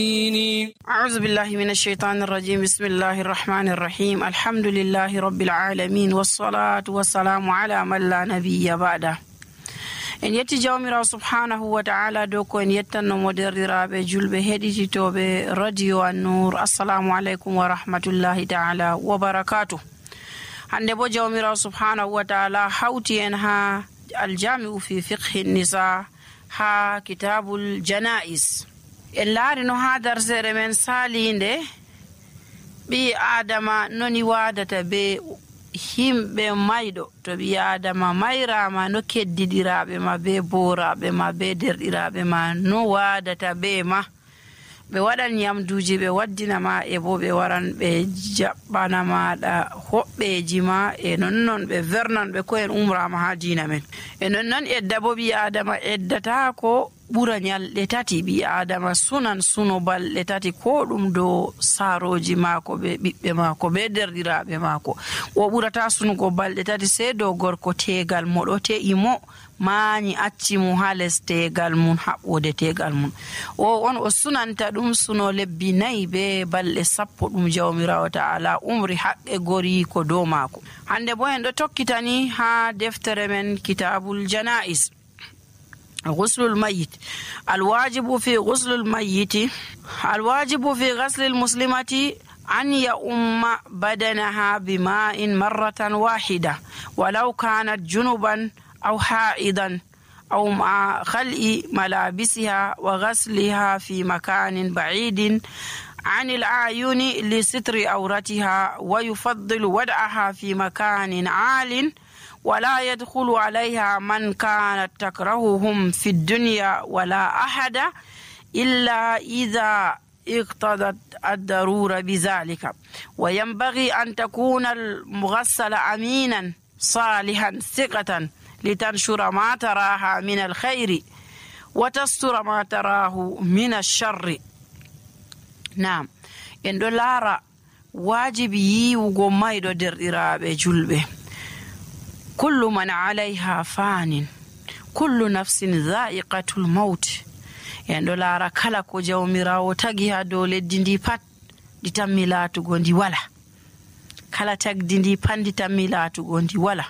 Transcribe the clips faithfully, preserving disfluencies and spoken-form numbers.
أعوذ بالله من الشيطان الرجيم بسم الله الرحمن الرحيم الحمد لله رب العالمين والصلاة والسلام على من لا نبي بعده. en yetti jawmirawo subhanahu wa ta'ala dow ko en yettanno moderdiraaɓe julɓe heɗititoɓe radio an-nur. assalamu aleykum wa rahmatullahi ta'ala wa barakatuh. hande bo jawmirawo subhanahu wa ta'ala hawti en ha aljami'u fi fiqhi nisa ha kitabul janais. en laari no ha darsere men salinde ɓi adama noni wadata be himɓe mayɗo. to ɓi adama mayrama no keddidiraɓe ma be boraɓe ma be derɗiraɓe ma no wadata be ma. ɓe waɗan yamduji ɓe waddinama e bo ɓe waran ɓe jaɓɓana maɗa hoɓɓeji ma e nonnon ɓe vernan ɓe ko en umrama ha dina men. e nonnon edda bo ɓi adama eddata ko ɓura nyalɗe tati. ɓi adama sunan suno balɗe tati ko ɗum dow saroji mako ɓe ɓiɓɓe mako be derɗiraɓe mako. o ɓurata sunugo balɗe tati sey dow gorko tegal mo ɗo te'i mo mañi acci mo ha les tegal mum haɓɓode tegal mum. o on o sunanta ɗum suno lebbi nayyi be balɗe sappo ɗum jawmirawo ta'ala umri haqqe gori ko dow mako. hande bo en ɗo tokkitani ha deftere men kitabul janais. غسل الميت. الواجب في غسل الميت الواجب في غسل المسلمة أن يؤم بدنها بماء مرة واحدة ولو كانت جنبا أو حائضا أو مع خلع ملابسها وغسلها في مكان بعيد عن الأعين لستر عورتها، ويفضل وضعها في مكان عال ولا يدخل عليها من كانت تكرههم في الدنيا ولا أحد إلا إذا اقتضت الضرورة بذلك. وينبغي أن تكون المغسل أمينا صالحا ثقة لتنشر ما تراها من الخير وتستر ما تراه من الشر. نعم en ɗo laara wajibi yiwugo mayɗo derɗiraaɓe julɓe. kullu man alayha fanin kullu nafsin dha'iqatul maut. en ɗo laara kala ko jawmirawo tagi ha dow leddi ndi pat ndi tammi laatugo ndi wala. kala tagdi ndi pat ndi tammi laatugo ndi wala.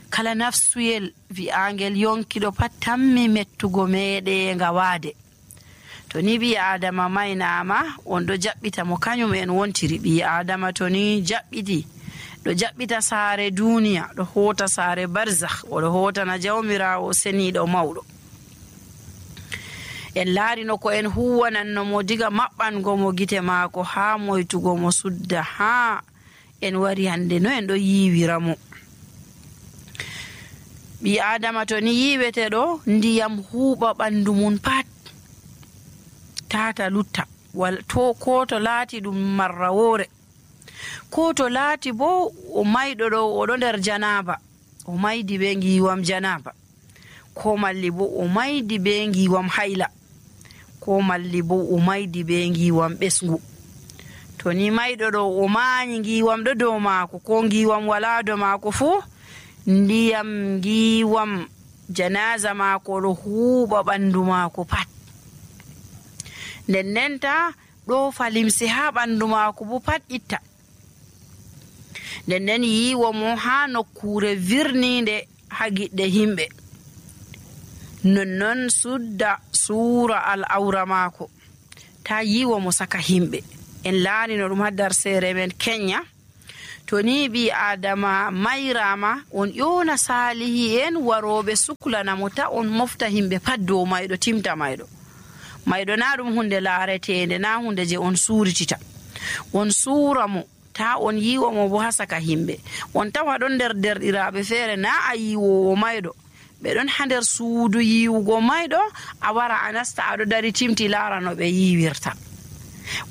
kala nafsuyel wi'angel yonkiɗo pat tammi mettugo meɗenga waade. to ni ɓi adama maynama on ɗo jaɓɓita mo kañum en wontiri. ɓi adama to ni jaɓɓiti ɗo jaɓɓita saare duniya, ɗo hota saare barzakh, oɗo hotana jawmirawo seniɗo mawɗo. en laarino ko en huwananno mo diga maɓɓango mo gite maako ha moytugo mo sudda ha en wari hande no en ɗo yiwira mo. ɓi adama to ni yiweteɗo ndiyam huuɓa ɓandu mum pat tata lutta wal to ko to laati ɗum marrawore, ko to laati bo o mayɗo ɗo oɗo nder janaba o maydi be ngiwam janaba, ko malli bo o maydi be ngiwam hayla, ko malli bo o maydi be ngiwam ɓesngu. to ni mayɗo ɗo o mañi ngiwam ɗo dow maako ko ngiwam wala dow maako fuu, ndiyam ngiwam janaza maako ɗo huuɓa ɓandu maako pat. nden ndenta ɗo falimse ha ɓandu maako bo pat itta. nden nden yiwo mo ha nokkure virninde ha giɗɗe himɓe. nonnon sudda suura al awra maako ta yiwo mo saka himɓe. en laarino ɗum ha darsere men kenya. to ni ɓi adama mayrama on ƴona salihi en waroɓe suklanamo ta on mofta himɓe pat dow mayɗo timta mayɗo. mayɗo na ɗum hunde laaretende, na hunde je on suuritita. on suura mo ta on yiwo mo bo ha saka himɓe. on tawa ɗon nder derɗiraɓe feere na a yiwowo mayɗo, ɓe ɗon ha nder suudu yiwugo mayɗo, a wara a nasta aɗo dari timti laara no ɓe yiwirta.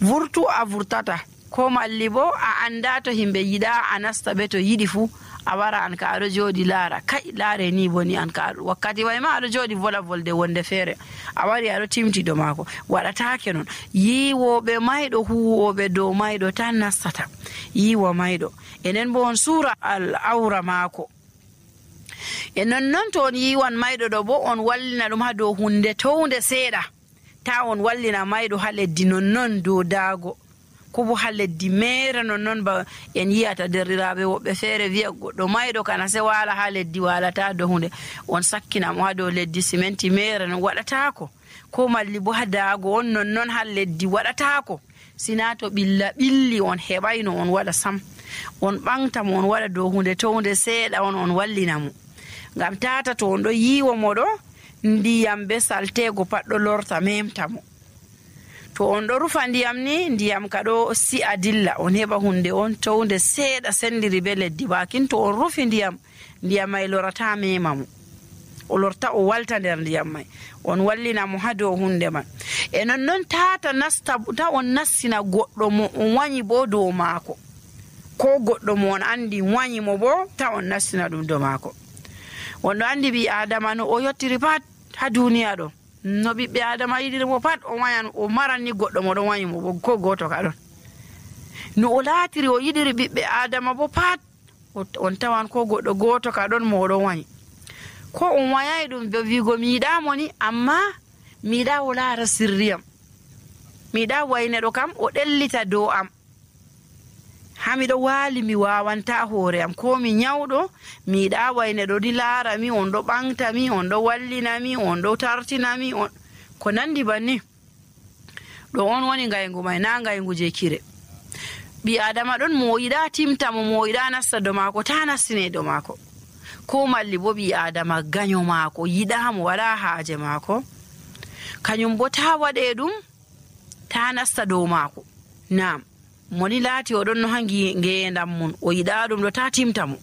vurtu a vurtata, ko malli bo a anda to himɓe yiɗa a nasta ɓe to yiɗi fuu a wara an ka aɗo jooɗi laara kai laare ni boni an ka wakkati way ma aɗo jooɗi vola volde wonde feere a wari aɗo timtiɗo maako. waɗatake noon. yiwoɓe mayɗo huwoɓe dow mayɗo tan nastata yiwa mayɗo. enen bo on suura al awra maako. e nonnon to on yiwan mayɗo ɗo bo on wallina ɗum ha dow hunde townde seeɗa ta on wallina mayɗo ha leddi nonnon dow daago ko bo ha leddi mere nonnon ba en yiyata derɗiraɓe woɓɓe feere wiya goɗɗo mayɗo kana se wala ha leddi walata dow hunde on sakkina mo ha dow leddi simenti mere non waɗatako ko malli bo ha daago on nonnon ha leddi waɗatako sina to ɓilla ɓilli on heɓayno on waɗa sam on ɓamta mo on waɗa dow hunde to hunde seeɗa on on wallina mo ngam tata to on ɗo yiwo mo ɗo ndiyam be saltego pat ɗo lorta memta mo to on ɗo rufa ndiyam ni ndiyam ka ɗo si'a dilla on heɓa hunde on to hunde seeɗa sendiri be leddi bakin to on rufi ndiyam ndiyam may lorata mema mo o lorta o walta nder ndiyam may on wallina mo ha dow hunde man e nonnon tata nasta ta on nassina goɗɗo mo on wanyi bo dow maako ko goɗɗo mo on andi wanyi mo bo ta on nassina ɗum dow maako on ɗo andi ɓi adama no o yottiri pat ha duniya ɗo no ɓiɓɓe adama yiɗiri mo pat o wayan o maran ni goɗɗo mo ɗon wanyi mo bo ko goto ka ɗon no o laatiri o yiɗiri ɓiɓɓe adama bo pat on tawan ko goɗɗo goto ka ɗon mo ɗon wanyi ko on wayai ɗum be wigo mi yiɗamo ni amma mi yiɗa o laara sirriyam mi yiɗa wayneɗo kam o ɗellita dow am ha miɗo waali mi wawanta hoore am ko mi nyawɗo mi yiɗa wayneɗo ɗi laara mi on ɗo ɓamta mi on ɗo wallina mi on ɗo tartina mi on ko nandi banni ɗo on woni ngaygu may na ngaygu je kire ɓi adama ɗon mo yiɗa timta mo mo yiɗa nasta dow maako ta nastine dow maako ko malli bo ɓi adama gaño maako yiɗamo waɗa haaje maako kañum bo ta waɗe ɗum ta nasta dow maako nam moni laati oɗon no ha ngeendam mum o yiɗa ɗum ɗo ta timta mo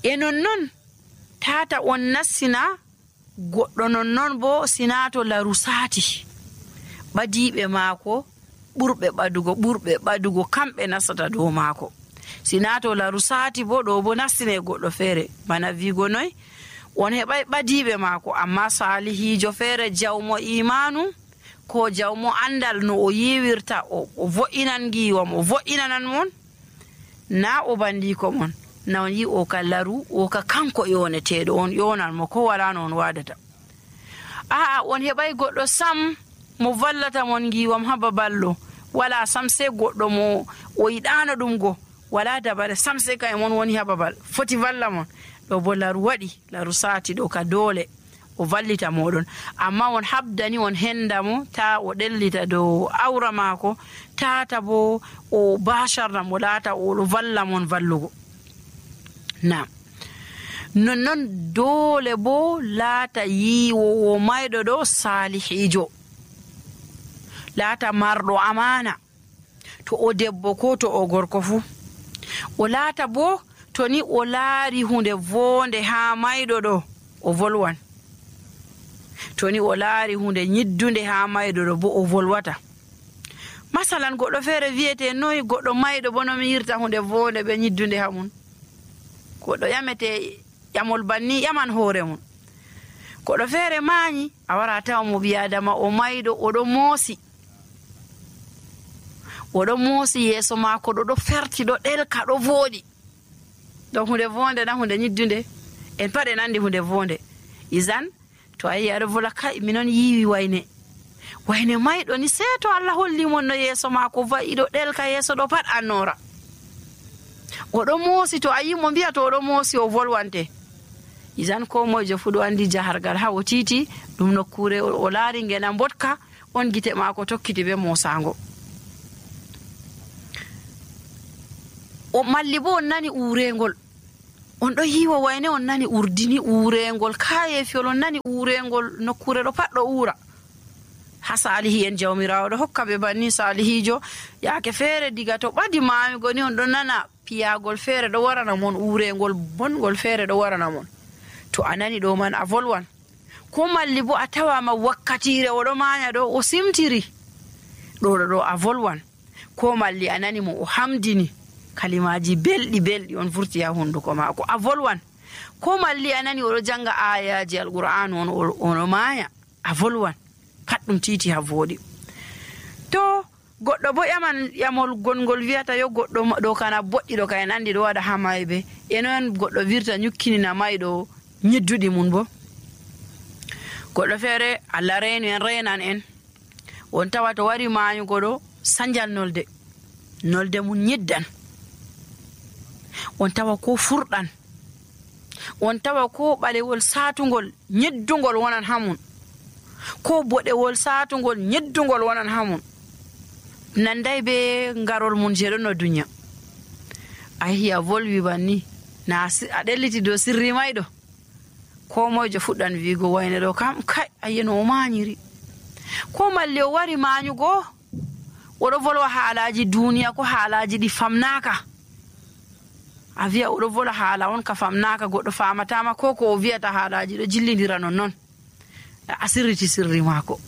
e nonnon tata on nassina goɗɗo nonnon bo sina to laru saati ɓadiɓe maako ɓurɓe ɓadugo ɓurɓe ɓadugo kamɓe nastata dow maako sina to laru saati bo ɗo bo nastine goɗɗo feere bana wigo noy on heɓay ɓadiɓe maako amma salihijo feere jawmo imanu ko jawmo andal no o yiwirta o vo'inan giwam o vo'inanan mon na o bandiko mon na on yi o ka laru o ka kanko yoneteɗo on yonan mo ko wala no on wadata aa on heɓay goɗɗo sam mo vallata mon giwam ha baballo wala sam se goɗɗo mo o yiɗano ɗum go wala dabare sam se kay mon woni ha babal foti valla mon ɗo bo laru waɗi laru saati ɗo ka doole o vallita moɗon amma on habdani on henda mo ta o ɗellita dow awra maako tata bo o basharna mo laata o valla mon vallugo nam nonnon doole bo laata yiwowo mayɗo ɗo salihijo laata marɗo amana to o debbo ko to o gorko fu o laata bo to ni o laari hunde vonde ha mayɗo ɗo o volwan to ni o laari hunde nyiddunde ha mayɗo ɗo bo o volwata masalan goɗɗo feere wiyete noyi goɗɗo mayɗo bo no mi yirta hunde vonde ɓe nyiddunde ha mum goɗɗo ƴamete ƴamol banni ƴaman hoore mum goɗɗo feere maañi a wara tawa mo biyadama o mayɗo oɗo moosi oɗo moosi yeeso maako ɗo ɗo ferti ɗo ɗelka ɗo vooɗi ɗo hunde vonde na hunde nyiddunde en pat en andi hunde vonde isan to a yi aɗo vola kai minon yiwi wayne wayne mayɗo ni se to Allah holli mon no yeeso maako va'i ɗo ɗelka yeeso ɗo pat annora oɗo moosi to a yi mo mbiya to oɗo moosi o volwante isan ko moyjo fu ɗo andi jahargal ha o titi ɗum nokkure o laari ngena mbotka on gite maako tokkiti be moosango o malli bo on nani urengol on ɗo yiwa wayne on nani urdini urengol kayefiyol on nani urengol nokkure ɗo pat ɗo ura ha salihi en jawmirawo ɗo hokka ɓe banni salihijo yaake feere diga to ɓadi mamigo ni on ɗo nana piyagol feere ɗo warana mon urengol bongol feere ɗo warana mon to a nani ɗo man a volwan ko malli bo a tawama wakkatire oɗo maña ɗo o simtiri ɗo ɗo ɗo a volwan ko malli a nani mo o hamdini kalimaji belɗi belɗi on vurti ha hunduko maako a volwan ko malli a nani oɗo janga ayaji alqur'anu on ono maaya a volwan pat ɗum titi ha voɗi to goɗɗo bo ƴaman ƴamol gongol wiyata yo goɗɗo ɗo kana boɗɗi ɗo ka en andi ɗo waɗa ha mayɓe enon goɗɗo wirta nyukkinina mayɗo nyidduɗi mum bo goɗɗo feere Allah reenu en renan en on tawa to wari maayugo ɗo sanjal nolde nolde mum nyeddan, on tawa ko furɗan, on tawa ko ɓalewol saatugol nyeddugol wonan hamum, ko boɗewol saatugol nyeddugol wonan hamum, nanday be ngarol mum je ɗon no duniya. a yehi a volwi banni na a ɗelliti dow sirri mayɗo, ko moyjo fuɗɗan wiigo wayne ɗo kam kai ayeno o mañiri, ko malli o wari mañugo oɗo volwa haalaji duniya ko haalaji ɗi famnaka, a wiya oɗo vola haala on ka famnaka goɗɗo famatama, ko ko o wiyata haalaji ɗo jillidira non noon a sirriti sirri maako.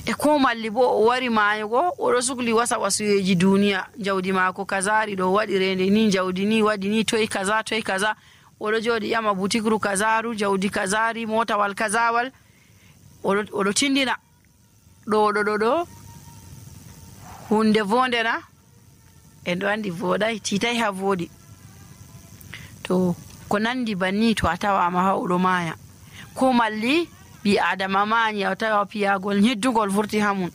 e ko malli bo o wari maayugo oɗo sukli wasa wasuyeji duniya, jawdi maako kazari ɗo waɗi rende ni, jawdi ni waɗi ni, toy kaza toy kaza, oɗo jooɗi ƴama butikru kazaru, jawdi kazari, motawal kazawal, oɗo tindina ɗo ɗo ɗo ɗo hunde vondena en ɗo andi voɗai titai ha voɗi. to ko nandi banni to a tawama ha oɗo maaya, ko malli ɓi adama mañi a tawa piyagol nyeddugol vurti hamum,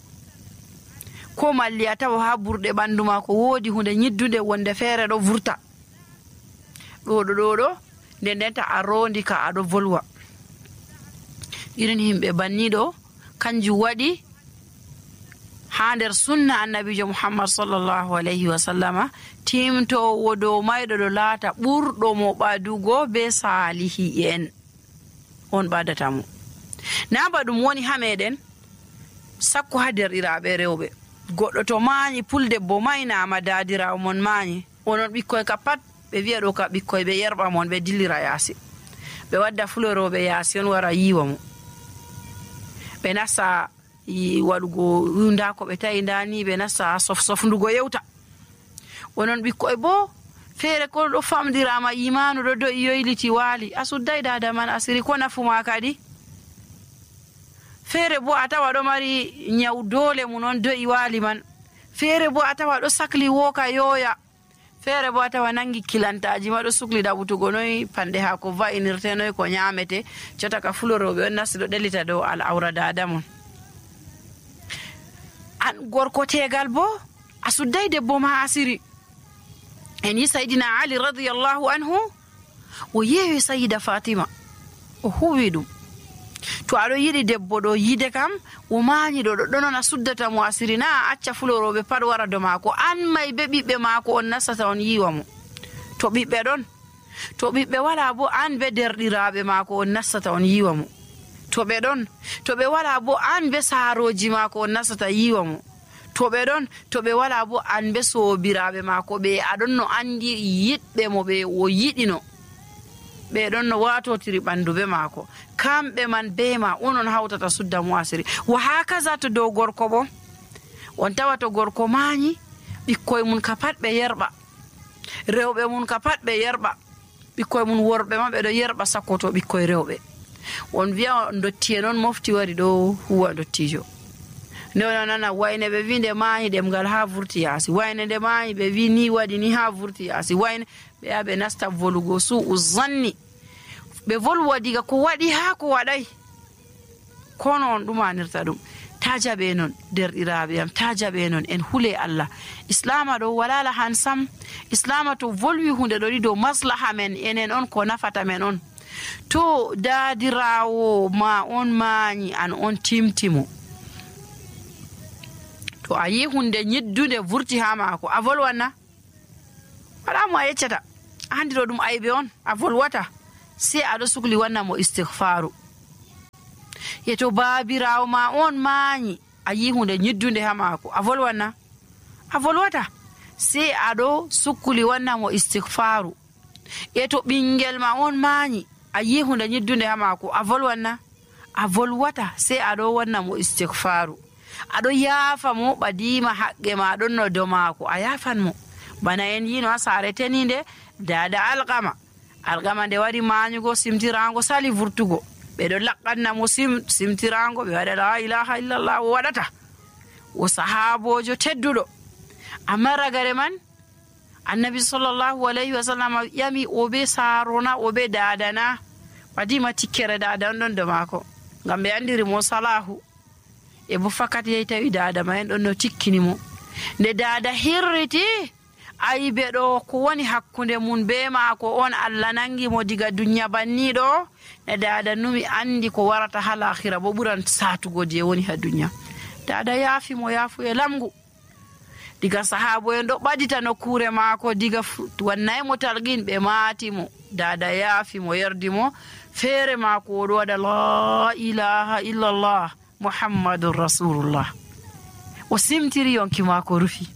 ko malli a tawa ha burɗe ɓandu ma ko woodi hunde nyeddude wonde feere ɗo vurta ɗo ɗo ɗo ɗo nden ndenta a rondi ka aɗo volwa. irin himɓe banni ɗo kanjum waɗi ha nder sunna annabijo muhammad sallallahu alayhi wa sallama timtowo dow mayɗo ɗo laata ɓurɗo mo ɓadugo be salihi en on ɓadatamo. na ba ɗum woni ha meɗen sakko ha derɗiraɓe rewɓe, goɗɗo to mañi puldebbo maynama dadirawo mon mañi, onon ɓikkoy ka pat ɓe wiya ɗo ka ɓikkoy ɓe yerɓa mon ɓe dillira yaasi, ɓe wadda fuloroɓe yaasi on wara yiwa mo, ɓe nasta waɗugo nda ko ɓe tawi ndani, ɓe nasta sof sofndugo yewta. onon ɓikkoy bo feere ko ɗo famdirama imanu ɗo do'i yoyliti waali, a sudday dada man asiri ko nafuma kadi. feere bo a tawa ɗo mari nyaw dole mum on do'i waali man, feere bo a tawa ɗo sakli woka yoya, feere bo a tawa nangi kilantaji ma ɗo sukli ɗaɓutugo noy panɗe ha ko va'inirte, noy ko nyamete, cota ka fuloroɓe on nasti ɗo ɗelita dow al'aura dada mon. an gorko tegal bo a sudday debbo ma asiri. en yi sayidina ali radiyallahu anhu o yewi sayida fatima o huwi ɗum, to aɗo yiɗi debbo ɗo yide kam o mañi ɗo ɗo ɗonon a suddata mo asiri, na a acca fuloroɓe pat wara do maako, an may be ɓiɓɓe maako on nastata on yiwa mo. to ɓiɓɓe ɗon, to ɓiɓɓe wala bo an be derɗiraɓe maako on nastata on yiwa mo. to ɓe ɗon, to ɓe wala bo an be saaroji maako on nastata yiwa mo. to ɓe ɗon, to ɓe wala bo an be sobiraɓe maako ɓe aɗon no andi yiɗɓe mo ɓe o yiɗino, ɓe ɗon no watotiri ɓandu be maako, kamɓe man be ma onon hawtata sudda mo asiri. wa hakaza to dow gorko bo, on tawa to gorko mañi ɓikkoye mum ka pat ɓe yerɓa, rewɓe mum ka pat ɓe yerɓa, ɓikkoye mum worɓe ma ɓe ɗo yerɓa sakko to ɓikkoye rewɓe. on wiya dottiye noon mofti wari ɗo huwa dottijo, nde ono nana wayne ɓe wi nde mañi ɗemgal ha vurti yaasi, wayne nde mañi ɓe wi ni waɗi ni ha vurti yaasi, wayne ɓe ya ɓe nasta volugo su'u zanni, ɓe volwa diga ko waɗi ha ko waɗay, kono on ɗumanirta ɗum. ta jaɓe noon derɗiraɓe am, ta jaɓe noon, en hule Allah. islama ɗo wala lahan sam, islama to volwi hunde ɗo ɗi dow maslaha men enen on, ko nafata men on. to dadirawo ma on mañi an on timtimo, to a yi hunde nyiddude vurti ha maako a volwanna, wala mo a yeccata, andi ɗo ɗum aybe on, a volwata, sai aɗo sukli wanna mo istighfaru. ye to babirawo ma on mañi a yi hunde nyiddude ha maako a volwanna, a volwata, sai aɗo sukli wanna mo istighfaru. e to ɓingel ma on mañi a yi hunde nyiddude ha maako a volwanna, a volwata, sai aɗo wanna mo istighfaru, aɗo yaafa mo ɓadima haqqe ma ɗon no do maako a yafan mo. bana en yino ha saare teninde dada alqama alqama nde wari mañugo simtirango sali vurtugo, ɓeɗo laqqanna mo sim simtirango, ɓe waɗa la ilaha illallah o waɗata, o sahabojo tedduɗo. amma ragare man annabi sallallahu alayhi wa sallam yami o be sarona o be dadana, ɓadima tikkere dada on ɗon do maako, ngam ɓe andiri mo salahu. e bo fakat yehi tawi dada ma en ɗon no tikkini mo. Nde dada hirriti ayi ɓe ɗo ko woni hakkunde mum be maako on Allah nangi mo diga duniya banniɗo. Ne dada numi andi ko warata ha lahira bo ɓuran satugo je woni ha duniya. Dada yaafi mo yaafu e lamgu. Diga sahabo en ɗo ɓadita nokkure maako diga wannay mo talqin ɓe maati mo. Dada yaafi mo yerdi mo feere maako oɗo waɗa la ilaha illallah muhammadun rasulullah. O simtiri yonki maako rufi.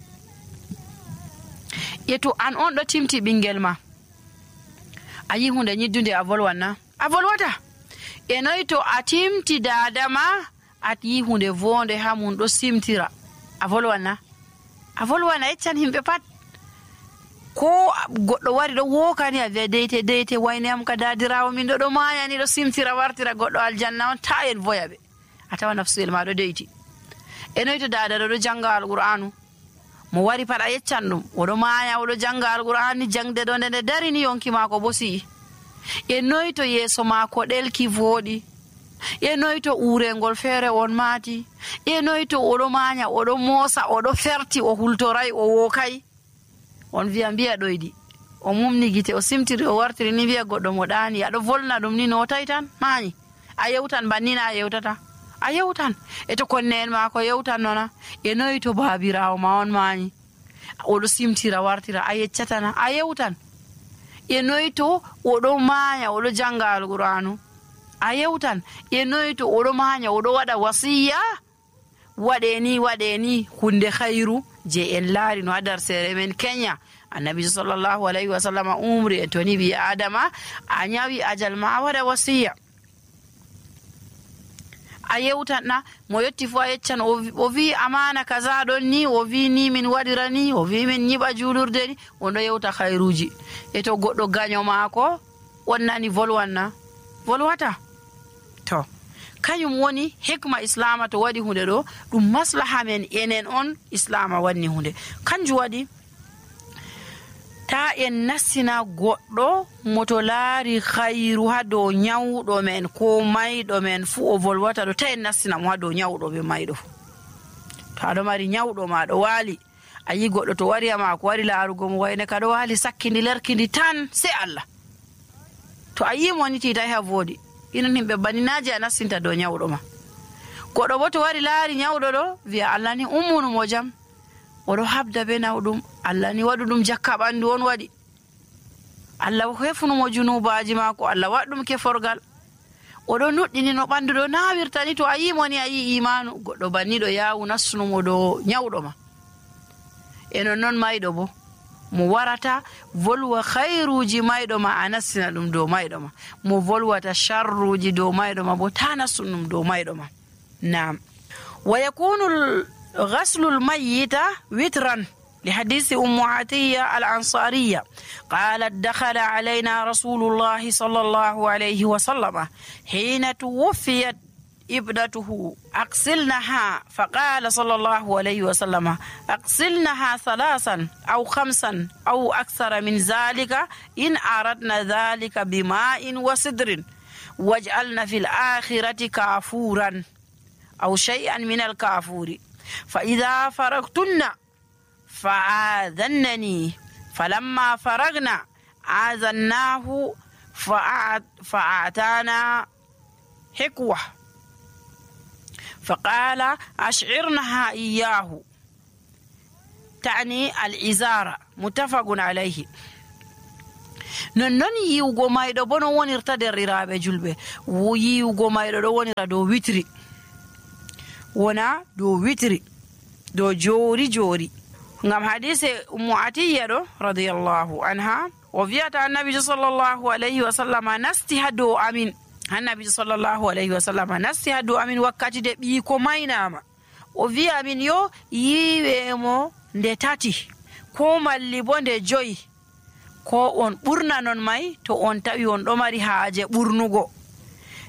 E to an on ɗo timti ɓingel ma a yi hunde ñiddunde a volwanna a volwata. E noyi to a timti dada ma a yi hunde vonde ha mum ɗo simtira a volwanna a volwana yeccan himɓe pat. Ko goɗɗo wari ɗo wokani a wiya deyte deyte wayne am ka dadirawo min ɗo ɗo mayani ɗo simtira wartira goɗɗo aljanna on ta en voya ɓe a tawa nafsuyel ma ɗo deyti. E noyi to dada ɗo ɗo janga alqur'anu mo wari pat a yeccan ɗum oɗo maya oɗo janga alqur'an ni jangde ɗo nde nde darini yonki maako bo si'i. E noyi to yeeso maako ɗelki voɗi. E noyi to urengol feere on maati. E noyi to oɗo manya oɗo moosa oɗo ferti o hultoray o wokai. On wiya mbiya ɗoyɗi o mumni gite o simtiri o wartiri ni wiya goɗɗo mo ɗani aɗo volna ɗum ni notai tan mayi a yewtan bannina a yewtata a yewtan. E to konne en maako yewtan nona. E noyi to baabirawo ma on mayi oɗo simtira wartira a yeccatana a yewtan. E noyi to oɗo maya oɗo janga alqur'anu a yewtan. E noyi to oɗo manya oɗo waɗa wasiya waɗe ni waɗe ni hunde khairu je en laari no ha dar sere men Kenya. Annabi sallallahu alayhi wa sallam umri en toni bi adama a nyawi ajal ma a waɗa wasiya a yewtanna mo yetti fu a yeccan o wi amana kaza ɗon ni o wi ni min waɗira ni o wi min nyiɓa julurde ni on ɗo yewta khairuji. E to goɗɗo gaño maako on nani volwanna volwata. To kañum woni hikma islama to waɗi hunde ɗo ɗum maslaha men enen on islama wanni hunde. Kanjum waɗi ta en nassina goɗɗo moto laari khairu ha dow nyawɗo men ko mayɗo men fu o volwata ɗo ta en nassina mo ha dow nyawɗo be mayɗo. To aɗo mari nyawɗo ma ɗo waali a yi goɗɗo to wari ma ko wari laarugo mo wayne ka ɗo waali sakkindi lerkindi tan se Allah. To a yi mo ni titai ha voodi inon himɓe baninaji a nassinta dow nyawɗo ma. Goɗɗo bo to wari laari nyawɗo ɗo wiya Allah ni ummunu mo jam oɗo habda be nawɗum Allah ni waɗu ɗum jakka ɓandu on waɗi Allah hefnumo junubaji maako Allah waɗɗum keforgal oɗo nuɗɗini no ɓandu ɗo nawirtani. To a yimo ni a yi imanu goɗɗo banniɗo yawu nassunumo dow nyawɗo ma. E non noon mayɗo bo mo warata volwa khairuji mayɗo ma a nassina ɗum dow mayɗo ma. Mo volwata sharruji dow mayɗo ma bo ta nassun ɗum dow mayɗo ma. Naam. Wa yakunu غسل الميت وترا لحديث أم عطية الأنصارية قالت دخل علينا رسول الله صلى الله عليه وسلم حين توفيت ابنته أغسلنها فقال صلى الله عليه وسلم أغسلنها ثلاثا أو خمسا أو أكثر من ذلك إن أردنا ذلك بماء وسدر واجعلنا في الآخرة كافورا أو شيئا من الكافور فإذا فرغتن فآذنني فلما فرغنا آذناه فأعطانا حكوة فقال أشعرنها إياه تعني الإزارة متفق عليه. نون يوغو مايدو بونو wonirta derriraɓe julɓe wo yiwugo mayɗo ɗo wonira dow witri wona dow witri dow joori joori ngam hadise ummu atiya ɗo radiyallahu anha o wiyata annabijo sallllahu alayhi wa sallam nasti ha dow amin annabijo sallllahu alayhi wa sallam nasti ha dow amin wakkati de ɓiiko maynama o wi amin yo yiwemo nde tati ko malli bo nde joyi ko on ɓurna non may to on tawi on ɗo mari haaje ɓurnugo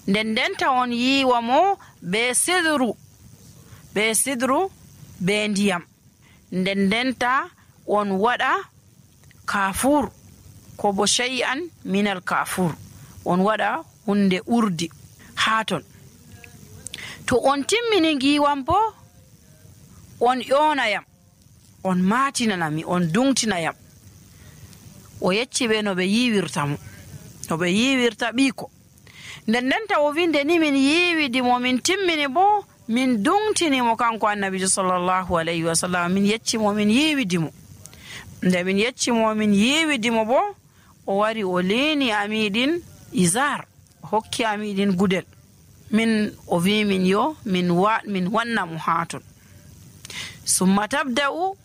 nden ndenta on yiwa mo be sidru be sidru be ndiyam nden ndenta on waɗa kafur ko bo shay'an minal kafur on waɗa hunde urdi ha ton to on timmini ngiwam bo on ƴonayam on matinanami on dungtinayam. O yecci ɓe no ɓe yiwirta mo no ɓe yiwirta ɓiiko. nden nden taw o winde ni min yiwidimo min timmini bo min dungtinimo kanko annabijo sallllahu alayhi wa sallam min yeccimo min yiwidimo. nde min yeccimo min yiwidimo bo o wari o leeni amiɗin izar o hokki amiɗin gudel min o wi min yo min wa min wanna mo ha ton. summa tabda'u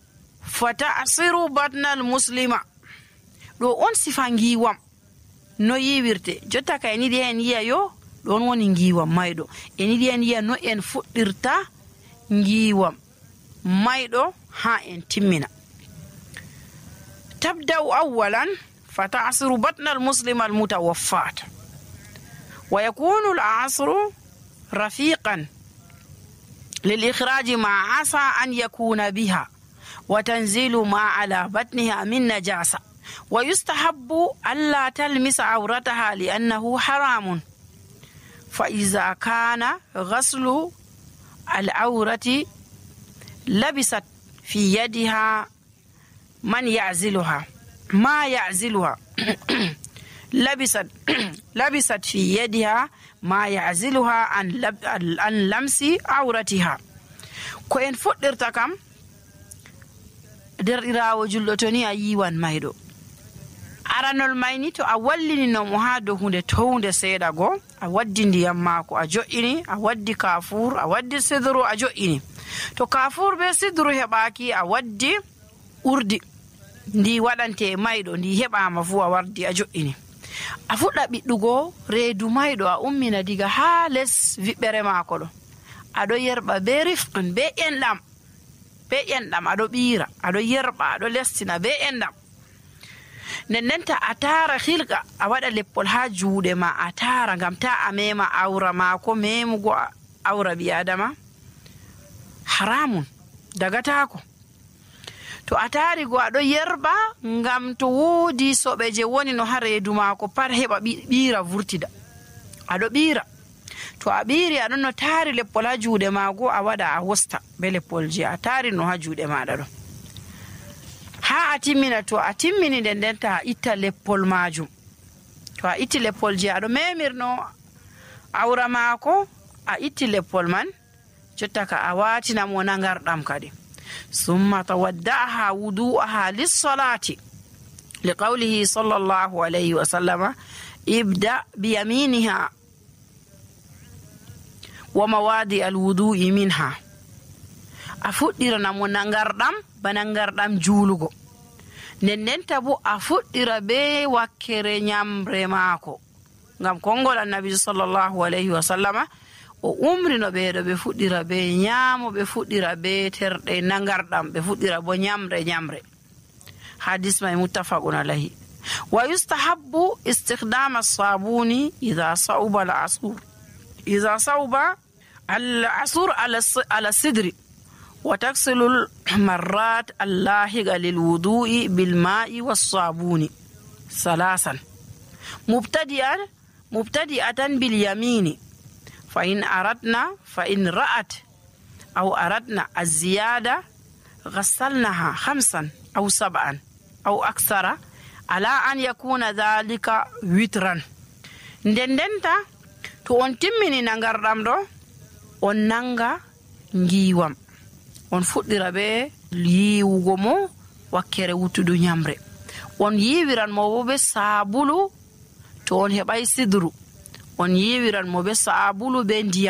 fata'siru batnal muslima. ɗo on sifa ngiwam no yiwirte. jotta ka en yiɗi en yiya yo ɗon woni ngiwam mayɗo. en yiɗi en yiya no en fuɗɗirta ngiwam mayɗo ha en timmina. tabda'u awwalan fata'siru batnal muslima al mutawaffat wa yakunu al asru rafiqan lil ikhraj ma asa an yakuna biha wa tanzilu ma ala batniha min najasa wa yustahabbu alla talmisa awrataha li annahu haramun fa iza kana ghaslu al awrati labisat fi yadiha man ya'ziluha ma ya'ziluha labisat labisat fi yadiha ma ya'ziluha an lab, an lamsi awratiha. ko en fuɗɗirta kam derɗirawo julɗo to ni a yiwan mayɗo aranol mayni to a wallini mo ha dow hunde townde seeɗa go a waddi ndiyam maako a jo'ini a waddi kafur a waddi sidru a jo'ini. to kafur be sidru heɓaki a waddi urdi ndi waɗante mayɗo ndi heɓama fu a wardi a jo'ini. a fuɗɗa ɓiɗɗugo reedu mayɗo a ummina diga ha les viɓɓere maako ɗo aɗo yerɓa be rifqin be enɗam be enɗam aɗo ɓiira aɗo yerɓa aɗo lestina be enɗam. nden ndenta a tara hilga a waɗa leppol ha juuɗe ma a tara ngam ta a mema awra maako. memugo awra ɓi adama haramun dagatako. to a tari go aɗo yerɓa ngam to woodi soɓe je woni no ha reedu maako pat heɓa ɓiira vurtida aɗo ɓiira. to a ɓiiri aɗon no taari leppol ha juuɗe maago a waɗa a wosta be leppol je a taari no ha juuɗe maɗa ɗo ha a timmina. to a timmini nden nden ta a itta leppol majum. to a itti leppol je aɗo memirno awra maako a itti leppol man jotta ka a watina mo nangarɗam kadi. summa tawadda'aha wudu'aha lis-salati liqawlihi sallallahu alayhi wa sallama ibda biyaminiha wa mawadi al-wudu'i minha. a fuɗɗirana mo nangarɗam ba nangarɗam juulugo. nden ndenta bo a fuɗɗira be wakkere nyamre maako ngam kongol annabi sallallahu alayhi wa sallama o umrino ɓeeɗo ɓe fuɗɗira be nyaamo ɓe fuɗɗira be terɗe nangarɗam ɓe fuɗɗira bo nyamre nyamre. hadis may muttafaqun alayhi. wa yustahabbu istikhdama as-sabuni idha sauba al-asur idha sauba al-asur ala sidri wa taksilu al-marrat allahiga lil-wudu'i bil-ma'i was-sabuni salasan mubtadi'an mubtadi'atan bil-yamini fa in aradna fa in ra'at aw aradna az-ziyada ghassalnaha khamsan aw sab'an aw akthara ala an yakuna dhalika witran. nden ndenta to on timmini nangarɗam ɗo on nanga ngiwam on fuɗɗira be yiwugo mo wakkere wutudu nyamre. on yiwiran mo bo be sabulu to on heɓay sidru on yiwiran mo be sabulu be ndiyam